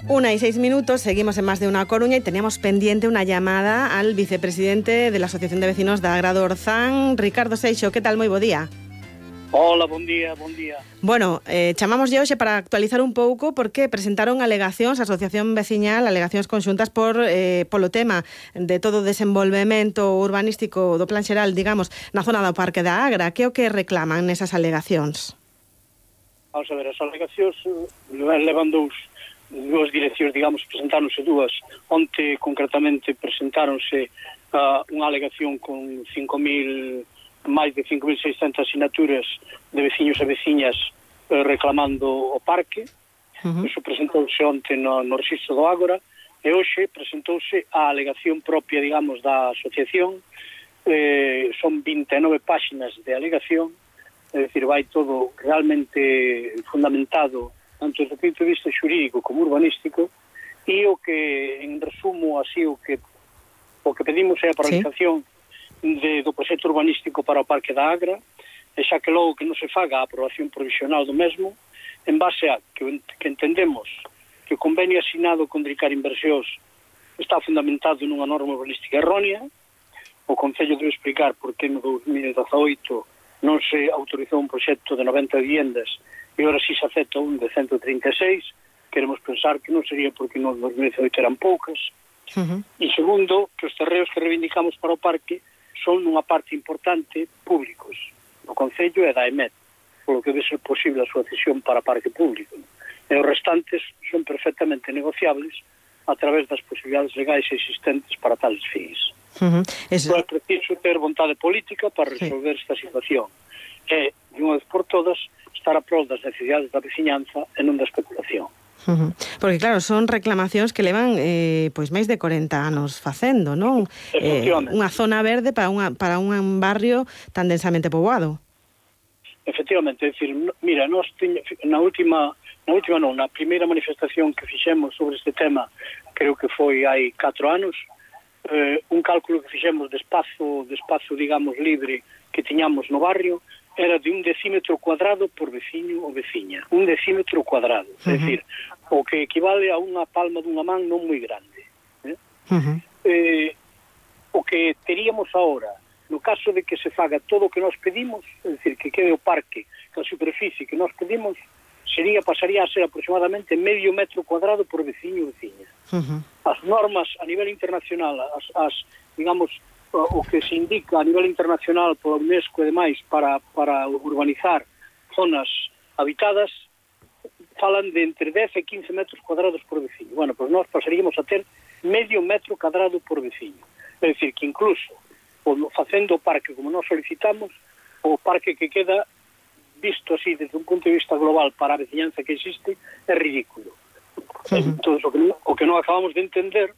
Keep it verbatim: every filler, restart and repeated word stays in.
Una y seis minutos, seguimos en Más de Una Coruña y teníamos pendiente una llamada al vicepresidente de la Asociación de Vecinos da Agra do Orzán, Ricardo Seixo. Que tal? Moi bo día. Hola, bon día, bon día. Bueno, eh, chamamos de hoxe para actualizar un pouco porque presentaron alegacións, a Asociación Veciñal, alegacións conxuntas por eh, polo tema de todo o desenvolvemento urbanístico do plan xeral, digamos, na zona do Parque da Agra. Que é o que reclaman nesas alegacións? Vamos a ver, as alegacións levan dous dúas direccións, digamos, presentáronse dúas. Onte, concretamente, presentáronse uh, unha alegación con cinco mil, máis de cinco mil seiscentas asignaturas de veciños e veciñas eh, reclamando o parque. Uh-huh. Iso presentouse onte no, no registro do Ágora, e hoxe presentouse a alegación propia, digamos, da asociación. Eh, son vinte e nove páxinas de alegación, é dicir, vai todo realmente fundamentado tanto desde o punto de vista xurídico como urbanístico, e o que, en resumo, así, o que o que pedimos é a paralización sí. de, do proxecto urbanístico para o Parque da Agra, e xa que logo que non se faga a aprobación provisional do mesmo, en base a que, que entendemos que o convenio asignado con Dricar Inversións está fundamentado nunha norma urbanística errónea. O Concello debe explicar por que no dos mil dezaoito non se autorizou un proxecto de noventa viviendas e agora si se acepta un de ciento trinta e seis. Queremos pensar que non sería porque no dos mil dezaoito eran poucas. Uh-huh. E segundo, que os terreos que reivindicamos para o parque son nunha parte importante públicos do Concello e da E M E T, polo que debe ser posible a súa cesión para parque público. E os restantes son perfectamente negociables a través das posibilidades legais existentes para tales fins. Uh-huh. Eso... Então é preciso ter vontade política para resolver sí. esta situación. E, de unha vez por todas, estar a prol das necesidades da veciñanza e non da especulación. Uh-huh. Porque claro, son reclamacións que levan eh, pois máis de corenta anos facendo, non? Eh, unha zona verde para, unha, para un barrio tan densamente poboado. Efectivamente, é dicir, mira, nós teña, na última, na última non, na primeira manifestación que fixemos sobre este tema, creo que foi hai catro anos, eh, un cálculo que fixemos de espazo, de espazo, digamos, libre que tiñamos no barrio, era de un decímetro cuadrado por veciño ou veciña. Un decímetro cuadrado. Uh-huh. É dicir, o que equivale a unha palma dunha man non moi grande. Eh? Uh-huh. Eh, o que teríamos ahora, no caso de que se faga todo o que nós pedimos, é dicir, que quede o parque, que a superficie que nós pedimos, sería, pasaría a ser aproximadamente medio metro cuadrado por veciño ou veciña. Uh-huh. As normas a nivel internacional, as, as digamos, o que se indica a nivel internacional pola UNESCO e demais para, para urbanizar zonas habitadas, falan de entre dez e quince metros cuadrados por veciño. Bueno, pois nós pasaríamos a ter medio metro cuadrado por veciño. É dicir, que incluso facendo o parque como nós solicitamos, o parque que queda visto así desde un punto de vista global para a veciñanza que existe é ridículo. Uh-huh. Entón, o que, o que non acabamos de entender